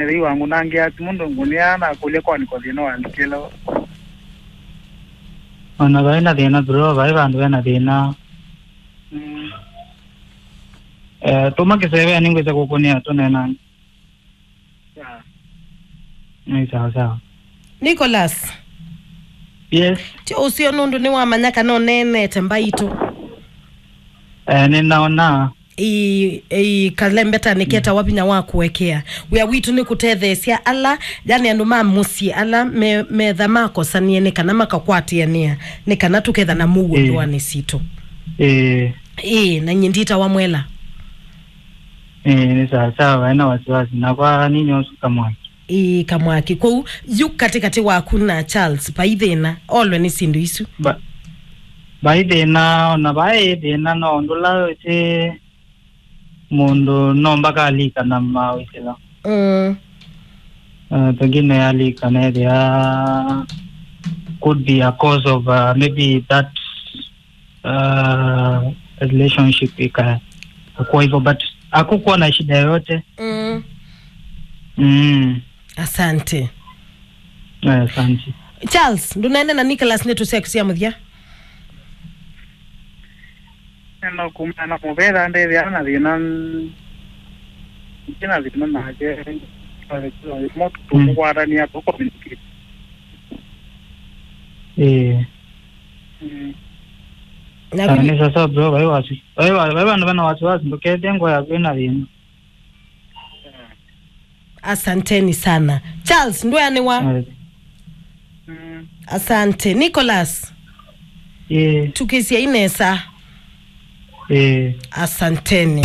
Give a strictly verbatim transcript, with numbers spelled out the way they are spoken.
Nĩthei wangũnangĩa simũ ndũngũnĩa nakũlya kwanĩko thĩna walikĩla. Ona vai na thĩna bro, vai vandũ ve na thĩna. Mm. Eh, tũma kĩseve nĩngwĩsa kũkũnĩa tũneenange. Sawa. Nĩ sawa sawa. Nicholas. Yes. Ti ũsio nũndũ nĩwamanya kana ũneenete mbaitũ. Eh, nĩnaona. Ĩĩ, ĩĩ, kalembeta nĩketawa vinya wa kũekea. Wĩa witũ nĩ kũtetheesya ala, yani andũ ma mũsyĩ ala me, metha makosanie nĩ kana makakwatĩanĩa, nĩ kana tũketha na mũuo. Ĩĩ. Ndoanĩ sitũ. Ĩĩ. Ĩĩ, na nyie nditawa Mwela. Ĩĩ, nĩ sawa sawa, vaena wasiwasi. Na kwa nini osu kamwaki? Ĩĩ, kamwaki. Kwoou, yu katĩkatĩ waku na Charles, vai thĩna, olwe nĩ syĩndũ isu. Ba-, vai thĩna, ona vai thĩna, no ũndũ ũla ĩtĩ mũndũ no mbaka alika na mawĩsĩla. Mm. Uh, pengine alika na ethĩa could be a cause of, uh, maybe that, uh, relationship ika-, ikakuwa hivyo, but hakukuwa na shida yoyote. Mm. Mm. Asante. Eh, asante. Charles, ndũnaenda na Nicholas nĩ tũseku sya mũthya? Ena kuma na mũvera ndethĩa na thĩna, ndina thĩna nake. Mo tũkũkwatania tũkomĩnĩkĩte. Eh. Mm. Na Ah, vili- nĩ sasa bro, vai wasi. Vai wa-, vai vandũ vena wasiwasi, ndũkethĩa ngoo yaku ĩna thĩna. Asanteni sana. Charles, ndweanĩwa? Eh. Mm. Asante. Nicholas, Eh. Tukĩsyai nesa. Eh. Asanteni.